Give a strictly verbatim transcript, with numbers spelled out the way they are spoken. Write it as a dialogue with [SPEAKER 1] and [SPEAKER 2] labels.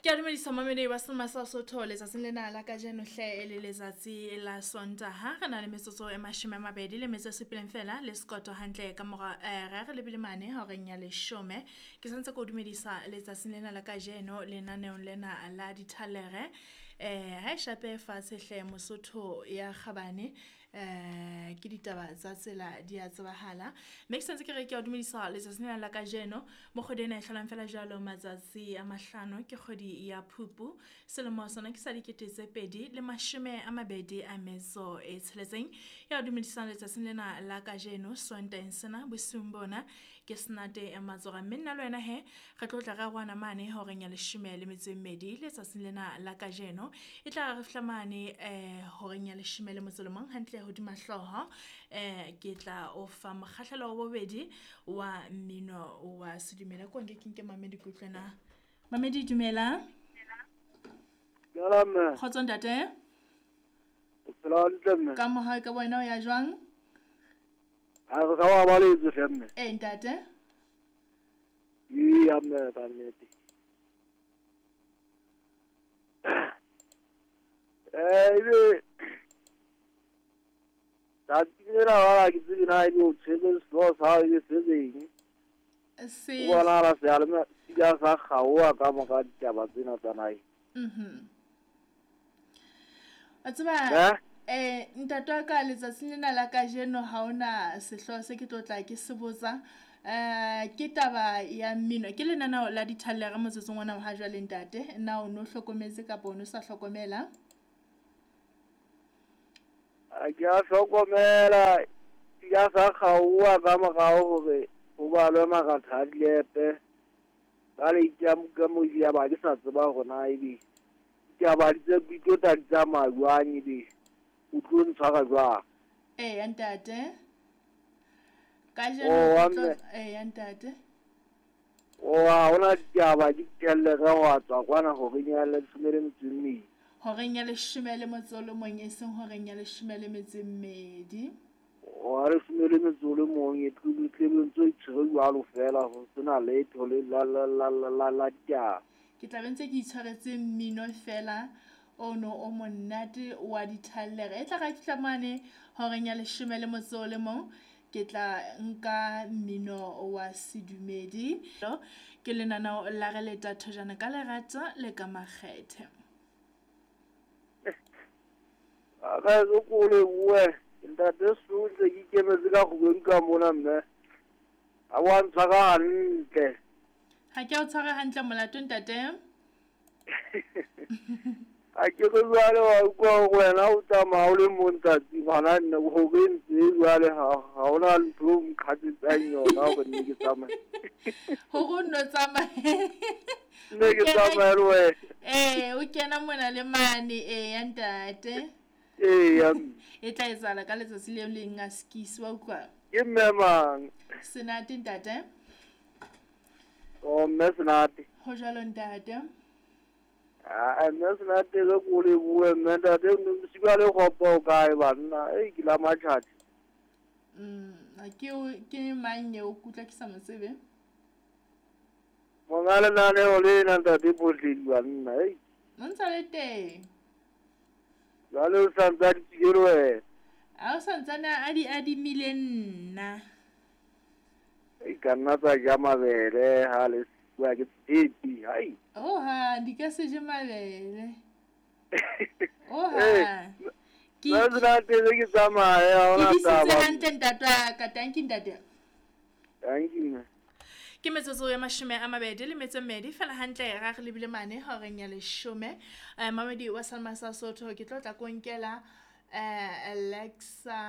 [SPEAKER 1] Ke a dumedisa mamedi wa Selma sa Sotho letsatsing lena la kajeno hle e le letsatsi la Sontaha. Re na le metsotso e mashome a mabedi le metso e supileng fela le sekoto hantle ka mora eh, re re lebile mane horeng ya leshome. Ke santse ke o dumedisa letsatsing lena la kajeno lenaneong lena la dithalere. Eh, ha e shape fatshe hle Mosotho ya kgabane, eh, ke ditaba tsa tsela di a tsebahala. Mme ke santse ke re ke a o dumedisa letsatsing lena la kajeno. Mo kgwedi ena e hlolang fela jwalo matsatsi a mahlano ke kgwedi ya Phupu. Selemo sona ke sa dikete tse pedi le mashome a mabedi a metso e tsheletseng. Ya o dumedisang letsatsing lena la kajeno Sontaheng sena bosiung bona ke Senate Matsora. Mme nna le wena he re tlo tla re arohana mane horeng ya leshome le metso e mmedi letsatsing lena la kajeno. E tla re fihla mane eh horeng ya leshome le motso o le mong hantle hodima hlooho. Eh ke tla o fa mokgahlelo wa bobedi wa mmino wa sedumela. Ko nke ke nke mamedi ke utlwe na. Mamedi dumela.
[SPEAKER 2] Dumela mme.
[SPEAKER 1] Kgotso ntate.
[SPEAKER 2] O phela hantle mme.
[SPEAKER 1] Ka mohau ka wena o ya jwang?
[SPEAKER 2] Ha re sa wa baletse hle mme.
[SPEAKER 1] Eh ntate.
[SPEAKER 2] Eya mme ka nnete. Eh ebe tsatsi lena wa ke tsebe na ebe o tshwere sehlooho sa hao ebe se seng.
[SPEAKER 1] Se
[SPEAKER 2] O bonahala seyalemoya se ile sa kgaoha ka mora ditaba tsena tsa naheng.
[SPEAKER 1] Mhm. Wa tseba
[SPEAKER 2] Eh?
[SPEAKER 1] eh ntate wa ka letsatsing lena la kajeno ha hona sehlooho se ke tlo tla ke se botsa. Eh ke taba ya mmino. Ke lenaneo la dithalere motsotsong ona wa ha jwale ntate. Na o no hlokometse kapa o no sa hlokomela?
[SPEAKER 2] Ha ke a hlokomela, se ile sa kgaoha ka morao hore ho balwe maratha a dilepe. Jwale ka mo ya ba ke sa tseba hore na ebe ditaba di tse di tlo tla di tsamaya jwang, ebe o tlo ntshwara jwang.
[SPEAKER 1] Eya ntate. Kajeno
[SPEAKER 2] Oh, wa
[SPEAKER 1] ke tlo
[SPEAKER 2] mme.
[SPEAKER 1] eya ntate.
[SPEAKER 2] Oh, ha hona ditaba di tellere ho a tswa kwana horeng ya leshome le metso e mmedi.
[SPEAKER 1] Horeng ya leshome le motso o le mong e seng horeng ya leshome le metso e mmedi.
[SPEAKER 2] Wa leshome le metso o le mong e tlo tle be ntse o itshwere jwalo fela ho sena letho le la la la la la la ditaba.
[SPEAKER 1] Ke tla be ntse ke itshwaretse mmino fela ono o monate wa dithalere. E tla ra fihla mane horeng ya leshome le motso o le mong ke tla nka mmino wa sedumedi. Ke lenaneo la re leta thojana ka lerato le ka makgethe.
[SPEAKER 2] A ka se ko lebohe ntate Sue ntse ke ikemetse ka kgwedi ka mona mme. Ha wa ntshwara hantle.
[SPEAKER 1] Ha ke o tshware hantle molato ntate.
[SPEAKER 2] Ha ke re jwale wa utlwa hore wena o tsamaya o le mong tsatsi ngwana nna hore ntse jwale ha ha hona ntho eo nqhatsetsang yona hore nne ke tsamaye.
[SPEAKER 1] Hore o nno tsamaye.
[SPEAKER 2] Nne ke tsamaye le wena.
[SPEAKER 1] Eh o kena mona le mane eya ntate.
[SPEAKER 2] Eya mme.
[SPEAKER 1] E tla etsahala ka letsatsi le leng a skisi wa utlwa.
[SPEAKER 2] Ke mme mang?
[SPEAKER 1] Senate ntate.
[SPEAKER 2] Oh mme Senate.
[SPEAKER 1] Ho jwalo ntate.
[SPEAKER 2] Ah mme Senate re ko lebohe mme ntate bosiu le kgopo o kae banna? Ei ke la matjhatjha.
[SPEAKER 1] Mm ke o ke mang eo ke utlwa ke sa mo tsebe?
[SPEAKER 2] Monga lenaneo lena ntate Bohledi banna ei.
[SPEAKER 1] O ntsa le teng.
[SPEAKER 2] Jwale o sa ntse a di tswile le wena.
[SPEAKER 1] Ha o santsane a di adimile nna.
[SPEAKER 2] Ei ka nna tsa ja mabele ha le bua ke tshepi hai.
[SPEAKER 1] Oh ha di ka se je mabele. Oh
[SPEAKER 2] Eh,
[SPEAKER 1] ha. Ke
[SPEAKER 2] Mme Senate se ke tsamaye ha
[SPEAKER 1] ke
[SPEAKER 2] hona
[SPEAKER 1] disitse
[SPEAKER 2] taba.
[SPEAKER 1] hantle ntate wa ka. Tanki ntate.
[SPEAKER 2] Tanki mme.
[SPEAKER 1] Ke metsotso ya mashome a mabedi le metso e mmedi fela hantle ra re lebile mane horeng ya leshome. Eh mamedi wa Salma sa Sotho ke tlo tla ko nkela eh Alexa.